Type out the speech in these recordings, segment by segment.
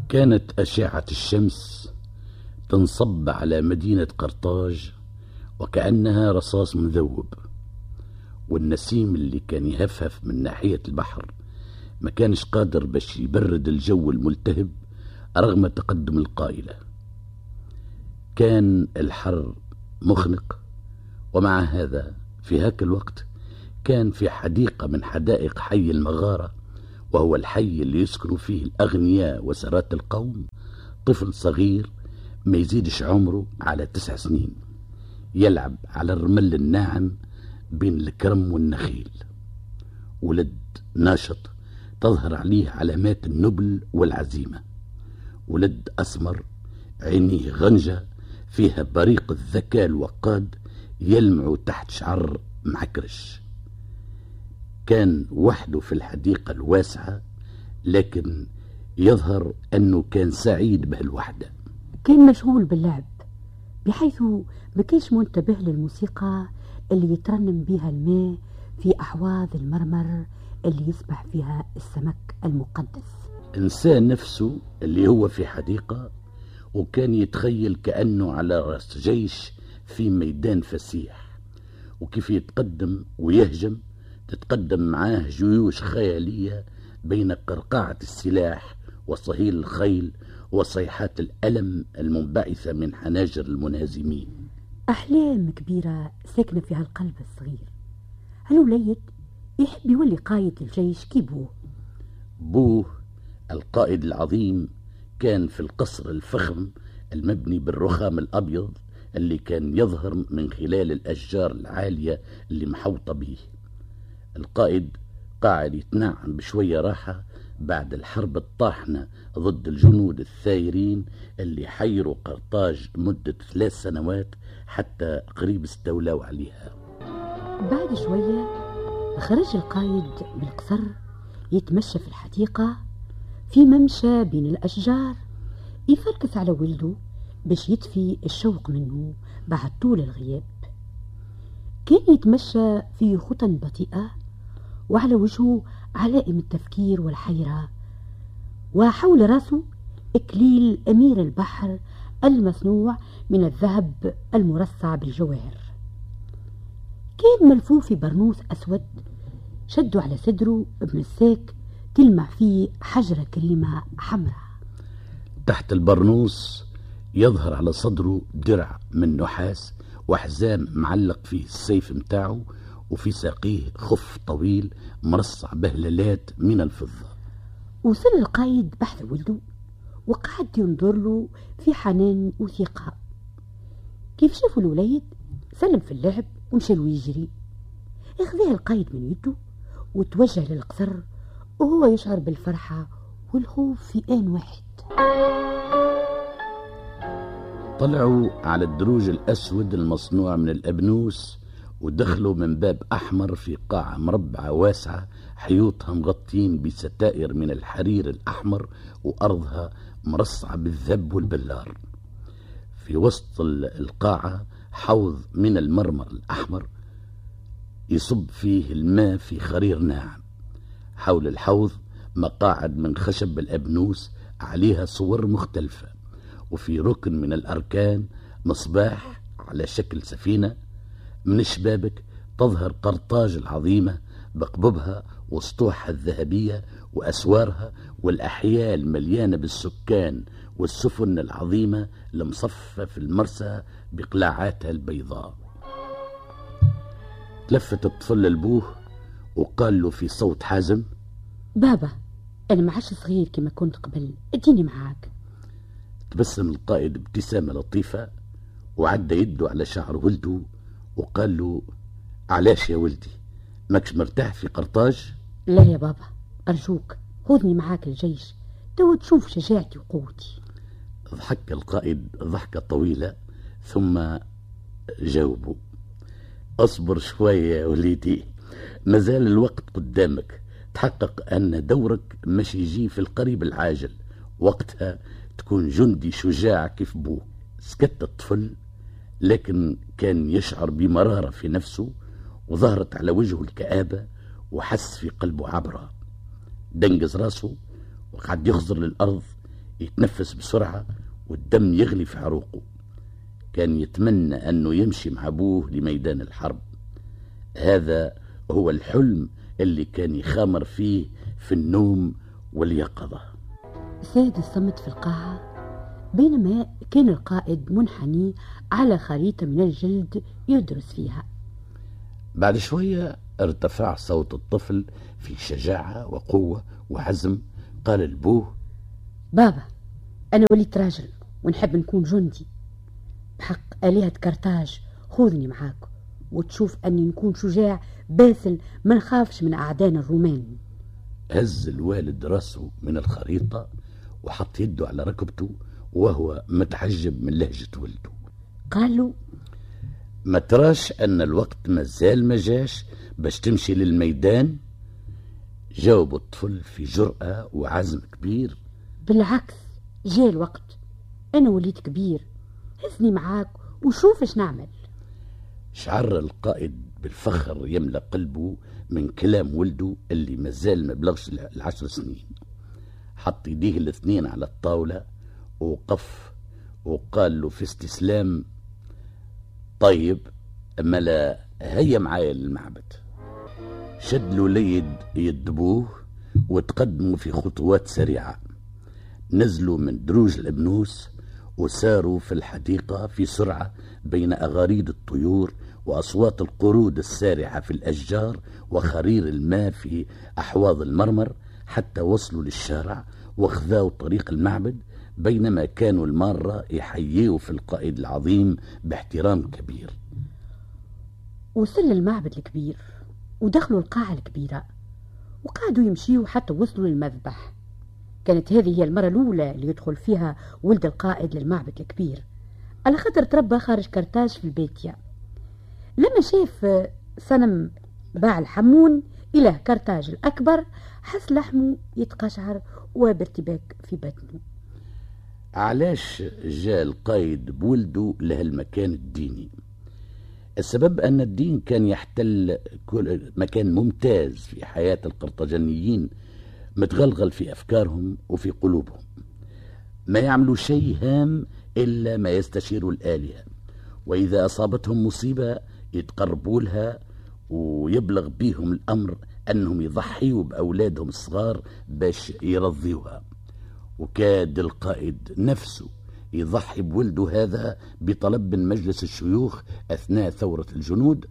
كانت أشعة الشمس تنصب على مدينة قرطاج وكأنها رصاص مذوب، والنسيم اللي كان يهفهف من ناحية البحر ما كانش قادر باش يبرد الجو الملتهب رغم تقدم القائلة. كان الحر مخنق، ومع هذا في هاك الوقت كان في حديقة من حدائق حي المغارة، وهو الحي اللي يسكن فيه الأغنياء وسرات القوم، طفل صغير ما يزيدش عمره على 9 سنين، يلعب على الرمل الناعم بين الكرم والنخيل. ولد ناشط تظهر عليه علامات النبل والعزيمة، ولد أسمر عينيه غنجة فيها بريق الذكاء الوقاد يلمع تحت شعر معكرش. كان وحده في الحديقة الواسعة، لكن يظهر أنه كان سعيد بهالوحدة. كان مشغول باللعب بحيث ما كانش منتبه للموسيقى اللي يترنم بها الماء في أحواض المرمر اللي يسبح فيها السمك المقدس. إنسان نفسه اللي هو في حديقة، وكان يتخيل كأنه على رأس جيش في ميدان فسيح، وكيف يتقدم ويهجم تتقدم معاه جيوش خيالية بين قرقعة السلاح وصهيل الخيل وصيحات الألم المنبعثة من حناجر المنهزمين. أحلام كبيرة ساكنة فيها القلب الصغير. هالوليد يحب يولي قائد الجيش كي بوه. بوه القائد العظيم كان في القصر الفخم المبني بالرخام الأبيض اللي كان يظهر من خلال الأشجار العالية اللي محوطة به. القائد قاعد يتنعم بشوية راحة بعد الحرب الطاحنة ضد الجنود الثايرين اللي حيروا قرطاج مدة 3 سنوات حتى قريب استولوا عليها. بعد شوية خرج القائد من القصر يتمشى في الحديقة في ممشى بين الأشجار، يفركس على ولده باش يطفي الشوق منه بعد طول الغياب. كان يتمشى في خطى بطيئة وعلى وجهه علائم التفكير والحيرة، وحول راسه إكليل أمير البحر المصنوع من الذهب المرصع بالجواهر. كان ملفوف في برنوس أسود شدوا على صدره بمساك تلمع فيه حجرة كريمة حمراء. تحت البرنوس يظهر على صدره درع من نحاس وحزام معلق فيه السيف متاعه، وفي ساقيه خف طويل مرصع بهلالات من الفضة. وصل القايد بحث ولده وقعد ينظر له في حنان وثقة. كيف شافوا الوليد سلم في اللعب ومشى له يجري. اخذه القايد من يده وتوجه للقصر وهو يشعر بالفرحة والخوف في آن واحد. طلعوا على الدروج الأسود المصنوع من الأبنوس ودخلوا من باب أحمر في قاعة مربعة واسعة حيوطها مغطين بستائر من الحرير الأحمر وأرضها مرصعة بالذب والبلار. في وسط القاعة حوض من المرمر الأحمر يصب فيه الماء في خرير ناعم. حول الحوض مقاعد من خشب الأبنوس عليها صور مختلفة، وفي ركن من الأركان مصباح على شكل سفينة. من الشبابك تظهر قرطاج العظيمة بقببها وسطوحها الذهبية وأسوارها والأحياء المليانة بالسكان والسفن العظيمة المصفة في المرسى بقلاعاتها البيضاء. تلفت الطفل لبوه وقال له في صوت حازم: بابا، أنا ما عادش صغير كما كنت قبل، اديني معاك. تبسم القائد ابتسامة لطيفة وعدى يده على شعر ولده وقال له: علاش يا ولدي، ماكش مرتاح في قرطاج؟ لا يا بابا، أرجوك خذني معاك الجيش تو تشوف شجاعتي وقوتي. ضحك القائد ضحكة طويلة ثم جاوبه: أصبر شوية يا وليدي، مازال الوقت قدامك، تحقق أن دورك مش يجي في القريب العاجل، وقتها تكون جندي شجاع كيف بوه. سكت الطفل، لكن كان يشعر بمرارة في نفسه وظهرت على وجهه الكآبة وحس في قلبه عبرة. دنقز راسه وقعد يخزر للأرض يتنفس بسرعة والدم يغلي في عروقه. كان يتمنى أنه يمشي مع أبوه لميدان الحرب. هذا هو الحلم اللي كان يخامر فيه في النوم واليقظة. ساد الصمت في القاعة بينما كان القائد منحني على خريطة من الجلد يدرس فيها. بعد شوية ارتفع صوت الطفل في شجاعة وقوة وعزم. قال لبوه: بابا، أنا وليت راجل ونحب نكون جندي. بحق آلهة كرتاج خذني معاك وتشوف أني نكون شجاع باسل ما نخافش من أعدان الرومان. هز الوالد راسه من الخريطة وحط يده على ركبته وهو متعجب من لهجة ولده. قال له: ما تراش أن الوقت مازال ما جاش باش تمشي للميدان؟ جاوب الطفل في جرأة وعزم كبير: بالعكس، جاء الوقت، أنا وليت كبير، هزني معاك وشوف اش نعمل. شعر القائد بالفخر يملأ قلبه من كلام ولده اللي مازال ما بلغش 10 سنين. حط يديه الاثنين على الطاولة وقف وقال له في استسلام: طيب، أما لا، هيا معايا للمعبد. شد له ليد يدبوه وتقدموا في خطوات سريعة. نزلوا من دروج الأبنوس وساروا في الحديقة في سرعة بين أغاريد الطيور وأصوات القرود السارعة في الأشجار وخرير الماء في أحواض المرمر، حتى وصلوا للشارع وخذاوا طريق المعبد، بينما كانوا المارة يحيوا في القائد العظيم باحترام كبير. وصل للمعبد الكبير ودخلوا القاعة الكبيرة وقعدوا يمشيوا حتى وصلوا للمذبح. كانت هذه هي المرة الأولى اللي يدخل فيها ولد القائد للمعبد الكبير، على خاطر تربى خارج كرتاج في البيتيا. لما شاف صنم باع الحمون إله كرتاج الأكبر حس لحمه يتقشعر وبارتباك في بطنه. علاش جاء القائد بولده لهالمكان الديني؟ السبب أن الدين كان يحتل كل مكان ممتاز في حياة القرطاجنيين، متغلغل في أفكارهم وفي قلوبهم. ما يعملوا شيء هام إلا ما يستشيروا الآلهة، وإذا أصابتهم مصيبة يتقربوا لها ويبلغ بهم الأمر أنهم يضحيوا بأولادهم الصغار باش يرضيوها. وكاد القائد نفسه يضحي بولده هذا بطلب من مجلس الشيوخ أثناء ثورة الجنود،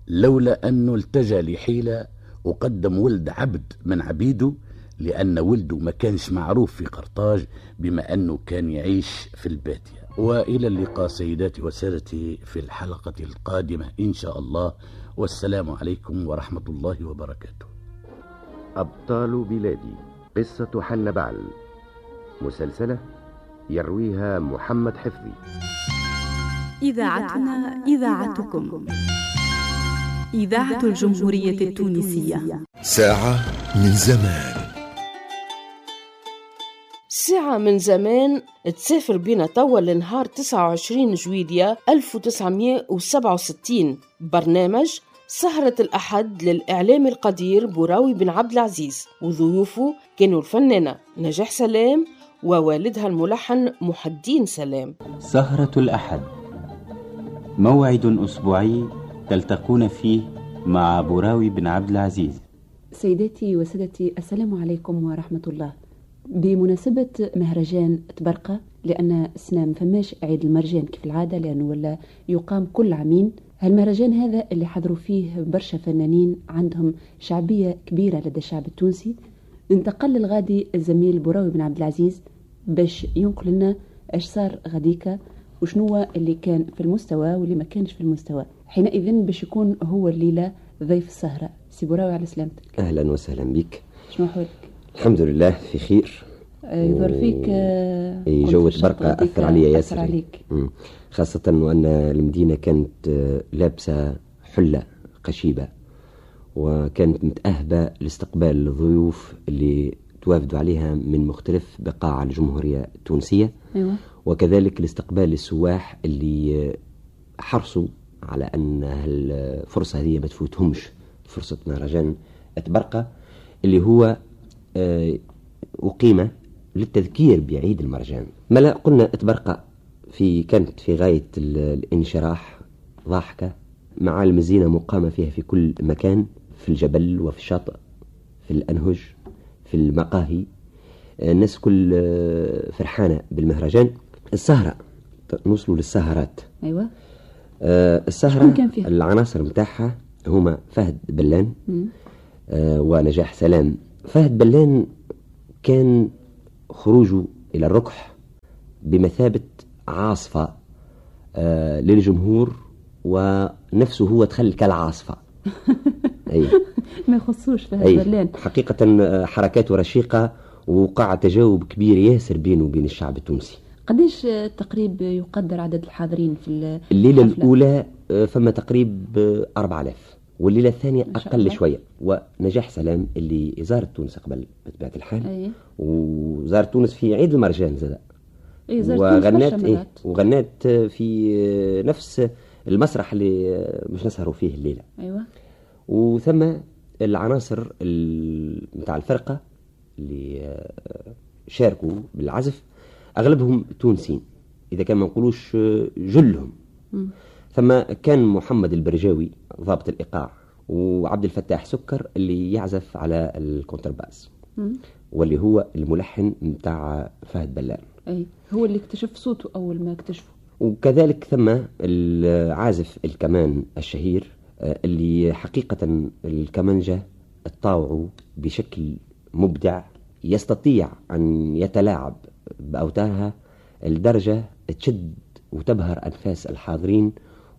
لولا أنه التجأ لحيلة وقدم ولد عبد من عبيده، لأن ولده ما كانش معروف في قرطاج بما أنه كان يعيش في البادية. وإلى اللقاء سيداتي وسادتي في الحلقة القادمة إن شاء الله، والسلام عليكم ورحمة الله وبركاته. أبطال بلادي، قصة حنبعل، مسلسلة يرويها محمد حفظي. إذاعتنا إذاعتكم، إذاعة الجمهورية التونسية. ساعة من زمان. ساعة من زمان تسافر بينا توا لنهار 29 جويلية 1967، برنامج سهرة الأحد للإعلام القدير براوي بن عبد العزيز، وضيوفه كانوا الفنانة نجاح سلام ووالدها الملحن محي الدين سلام. سهرة الأحد، موعد أسبوعي تلتقون فيه مع براوي بن عبد العزيز. سيداتي وسادتي، السلام عليكم ورحمة الله. بمناسبة مهرجان تبرقة، لأن السنة ما فماش عيد المرجان كيف العادة، لأنه ولا يقام كل عامين، هالمهرجان هذا اللي حضروا فيه برشا فنانين عندهم شعبية كبيرة لدى الشعب التونسي. انتقل للغادي الزميل براوي بن عبد العزيز باش ينقل لنا اش صار غاديكا وشنو اللي كان في المستوى واللي ما كانش في المستوى. حينئذ باش يكون هو الليلة ضيف السهرة. سي براوي، على سلامتك. أهلا وسهلا بك. شنو حوالك؟ الحمد لله في خير. يظهر فيك جو تبرقة أثر عليا ياسر. أثر عليك. خاصة وأن المدينة كانت لابسة حلة قشيبة، وكانت متأهبة لاستقبال الضيوف اللي توافدوا عليها من مختلف بقاع الجمهورية التونسية. أيوة. وكذلك لاستقبال السواح اللي حرصوا على أن الفرصة هذه ما تفوتهمش، فرصة مهرجان تبرقة اللي هو أقيم للتذكير بعيد المرجان. ملا قلنا طبرقة كانت في غاية الانشراح، ضاحكة، معالم الزينة مقامة فيها في كل مكان، في الجبل وفي الشاطئ، في الأنهج، في المقاهي، الناس كل فرحانة بالمهرجان. السهرة، نوصلوا للسهرات. أيوة. السهرة العناصر متاعها هما فهد بلان ونجاح سلام. فهد بلان كان خروجه إلى الركح بمثابة عاصفة للجمهور، ونفسه هو دخل كالعاصفة. أي. ما يخصوش فهد بلان حقيقة، حركاته رشيقة ووقع تجاوب كبير ياسر بينه وبين الشعب التونسي. قديش تقريب يقدر عدد الحاضرين في الليلة الأولى؟ فما تقريب 4000، والليلة الثانية أقل شوية. ونجاح سلام اللي زارت تونس قبل بطبيعة الحال. أيه. وزارت تونس في عيد المرجان زاد. أيه، وغنات وغنات في نفس المسرح اللي مش نسهروا فيه الليلة. أيوة. وثم العناصر متاع الفرقة اللي شاركوا بالعزف أغلبهم تونسيين، إذا كان ما نقولوش جلهم. ثم كان محمد البرجاوي ضابط الإيقاع، وعبد الفتاح سكر اللي يعزف على الكونترباس، واللي هو الملحن متاع فهد بلان. أي هو اللي اكتشف صوته أول ما اكتشفه. وكذلك ثم العازف الكمان الشهير اللي حقيقة الكمانجة تطاوعه بشكل مبدع، يستطيع أن يتلاعب بأوتارها لدرجة تشد وتبهر أنفاس الحاضرين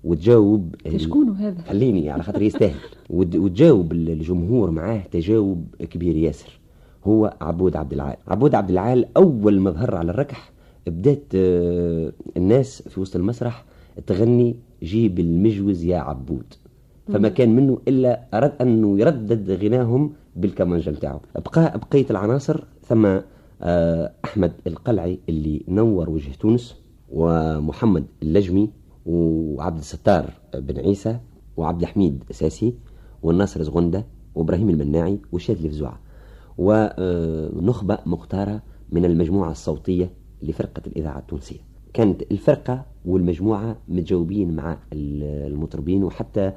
وتجاوب. شكون هذا؟ خليني على خاطر يستاهل. وتجاوب الجمهور معاه تجاوب كبير ياسر. هو عبود عبد العال. عبود عبد العال أول ما ظهر على الركح بدأت الناس في وسط المسرح تغني جيب المجوز يا عبود، فما كان منه إلا أراد أنه يردد غناهم بالكمانجة متاعه. بقى بقية العناصر ثم أحمد القلعي اللي نور وجه تونس، ومحمد اللجمي، وعبد الستار بن عيسى، وعبد الحميد ساسي، والناصر زغندة، وإبراهيم المناعي، وشاذلي فزوعة، ونخبة مختارة من المجموعة الصوتية لفرقة الإذاعة التونسية. كانت الفرقة والمجموعة متجاوبين مع المطربين، وحتى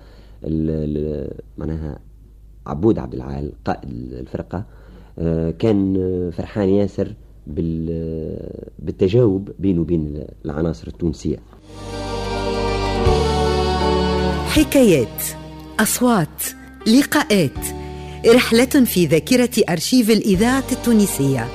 معناها عبود عبد العال قائد الفرقة كان فرحان ياسر بالتجاوب بينه وبين العناصر التونسية. حكايات، أصوات، لقاءات، رحلة في ذاكرة أرشيف الإذاعة التونسية.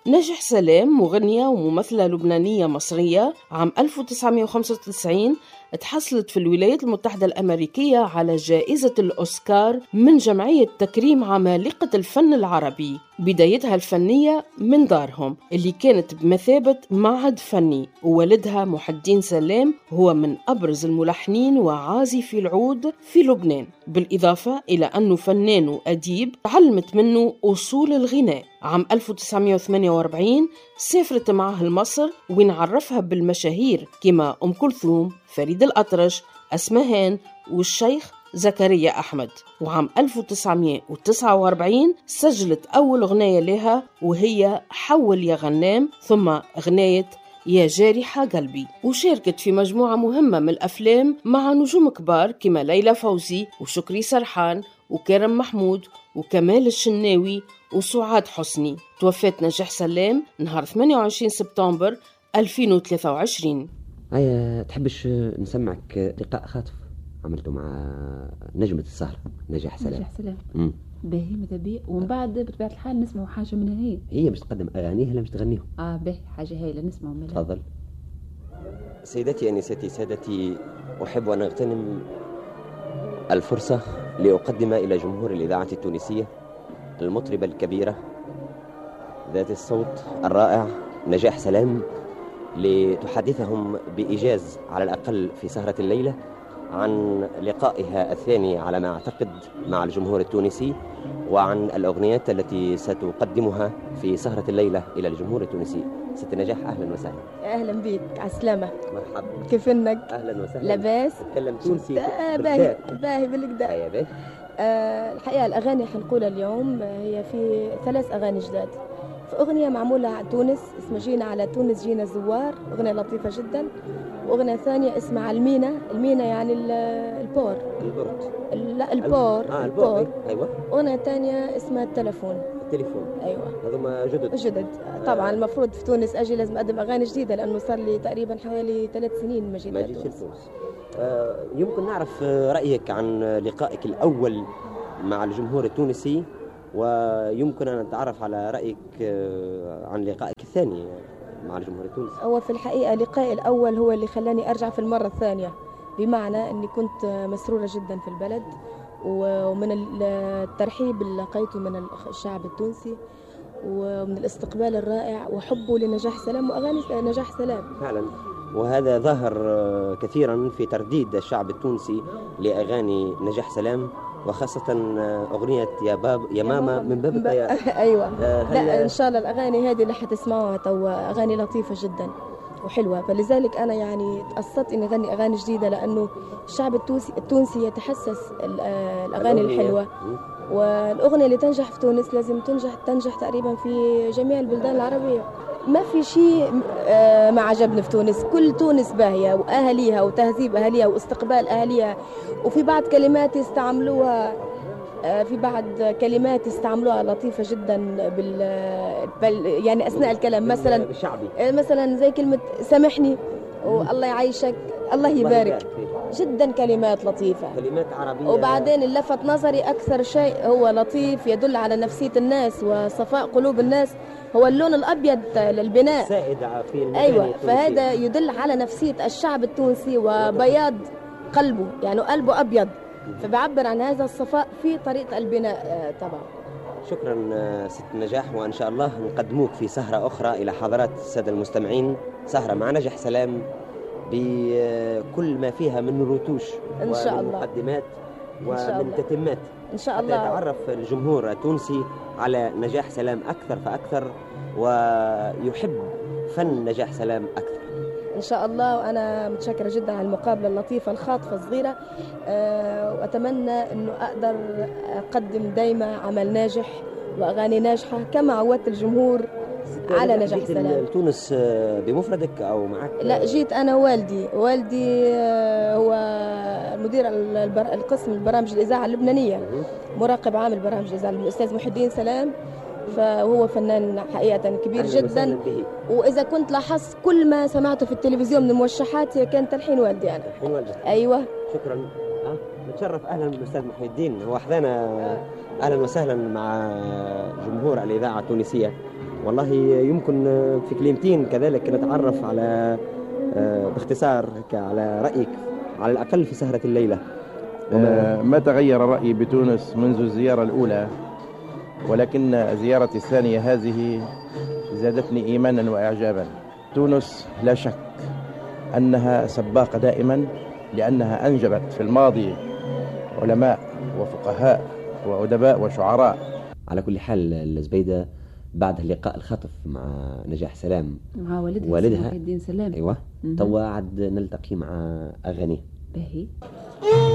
نجاح سلام مغنية وممثلة لبنانية مصرية، عام 1995 تحصلت في الولايات المتحدة الأمريكية على جائزة الأوسكار من جمعية تكريم عمالقة الفن العربي. بدايتها الفنية من دارهم اللي كانت بمثابة معهد فني، ووالدها محي الدين سلام هو من أبرز الملحنين وعازفي العود في لبنان، بالإضافة إلى أنه فنان وأديب تعلمت منه أصول الغناء. عام 1948 سافرت معه لمصر وين عرفها بالمشاهير كما أم كلثوم، فريد الأطرش، أسمهان والشيخ زكريا أحمد. وعام 1949 سجلت أول أغنية لها وهي حول يا غنام، ثم أغنية يا جارحة قلبي، وشاركت في مجموعة مهمة من الأفلام مع نجوم كبار كما ليلى فوزي وشكري سرحان وكرم محمود وكمال الشناوي وسعاد حسني. توفت نجاح سلام نهار 28 سبتمبر 2023. هيا تحبش نسمعك لقاء خاطف عملته مع نجمة السهرة نجاح سلام. نجاح سلام باهي ماذا بي، ومن بعد بطبيعة الحال نسمعوا حاجة منها. هي هي باش تقدم أغانيها لا باش تغنيهم. باهي حاجة هايلة نسمعوا منها. تفضل. سيدتي أنساتي سادتي، أحب أن أغتنم الفرصة لأقدم إلى جمهور الإذاعة التونسية المطربة الكبيرة ذات الصوت الرائع نجاح سلام، لتحدثهم بإيجاز على الأقل في سهرة الليلة عن لقائها الثاني على ما أعتقد مع الجمهور التونسي، وعن الأغنيات التي ستقدمها في سهرة الليلة إلى الجمهور التونسي. ست نجاح، أهلا وسهلا. أهلا بك، على السلامة. مرحبا، كيف إنك؟ أهلا وسهلا. لاباس؟ تتكلم تونسي؟ باهي باهي بالكدا. باهي. الحقيقة الأغاني حنقولها اليوم هي في 3 أغاني جداد. في أغنية معمولة على تونس اسمها جينا على تونس جينا زوار، أغنية لطيفة جدا. وأغنية ثانية اسمها على المينا، المينا يعني ال port. ال port؟ لا ال port. ال port، أيوة. أغنية ثانية اسمها التلفون. التليفون، أيوة. هذوما جدد. جدد طبعا. المفروض في تونس أجي لازم أقدم أغاني جديدة، لأنه صار لي تقريبا حوالي 3 سنين ما جيت لتونس. يمكن نعرف رأيك عن لقائك الأول مع الجمهور التونسي، ويمكن أن نتعرف على رأيك عن لقائك الثاني مع الجمهور التونسي. هو في الحقيقة لقائي الأول هو اللي خلاني أرجع في المرة الثانية، بمعنى أني كنت مسرورة جدا في البلد، ومن الترحيب اللي لقيته من الشعب التونسي، ومن الاستقبال الرائع وحبه لنجاح سلام وأغاني نجاح سلام. فعلا، وهذا ظهر كثيرا في ترديد الشعب التونسي لأغاني نجاح سلام، وخاصة أغنية يا باب يا ماما من باب الطيارة. أيوة. لا إن شاء الله الأغاني هذه اللي حتسمعوها توا أغاني لطيفة جدا وحلوة، فلذلك أنا يعني تقصدت إني أغني أغاني جديدة، لأنه الشعب التونسي يتحسس الأغاني الحلوة، والأغنية اللي تنجح في تونس لازم تنجح تقريبا في جميع البلدان العربية. ما في شيء ما عجبني في تونس، كل تونس باهية وأهليها وتهذيب أهليها واستقبال أهليها، وفي بعض كلمات يستعملوها، في بعض كلمات يستعملوها لطيفة جدا يعني أثناء الكلام، مثلا مثلا زي كلمة سامحني والله يعيشك الله يبارك، جدا كلمات لطيفة، كلمات عربية. وبعدين اللي لفت نظري أكثر شيء هو لطيف يدل على نفسية الناس وصفاء قلوب الناس هو اللون الأبيض للبناء سائد في المباني. أيوة، فهذا يدل على نفسية الشعب التونسي وبياض قلبه، يعني قلبه أبيض، فبعبر عن هذا الصفاء في طريقة البناء طبعا. شكرا ست نجاح، وإن شاء الله نقدموك في سهرة أخرى إلى حضرات السادة المستمعين، سهرة مع نجاح سلام بكل ما فيها من رتوش إن شاء ومن الله، مقدمات ومن تتمات إن شاء الله، يتعرف الجمهور التونسي على نجاح سلام أكثر فأكثر، ويحب فن نجاح سلام أكثر إن شاء الله. وأنا متشكرة جدا على المقابلة اللطيفة الخاطفة الصغيرة، وأتمنى أنه أقدر أقدم دايما عمل ناجح وأغاني ناجحة كما عودت الجمهور على نجاح سلام. تونس بمفردك أو معك؟ لا، جيت أنا والدي. والدي هو مدير القسم البرامج الإذاعة اللبنانية، مراقب عام البرامج الإذاعة الأستاذ محي الدين سلام، فهو فنان حقيقة كبير جدا. وإذا كنت لاحظت كل ما سمعته في التلفزيون من الموشحات هي كان تلحين والدي أنا. تلحين والدك. أيوة. شكرا. نتشرف. أهلا بالأستاذ محي الدين، هو أحدانا. أهلا وسهلا مع جمهور الإذاعة التونسية. والله يمكن في كلمتين كذلك نتعرف على باختصار على رأيك على الأقل في سهرة الليلة. ما تغير رأيي بتونس منذ الزيارة الأولى، ولكن زيارتي الثانية هذه زادتني إيمانا وإعجابا. تونس لا شك أنها سباقة دائما، لأنها أنجبت في الماضي علماء وفقهاء وأدباء وشعراء. على كل حال الزبيدة، بعد اللقاء الخطف مع نجاح سلام مع والدها محي الدين سلام، أيوة، توا عاد نلتقي مع أغانيه. باهي.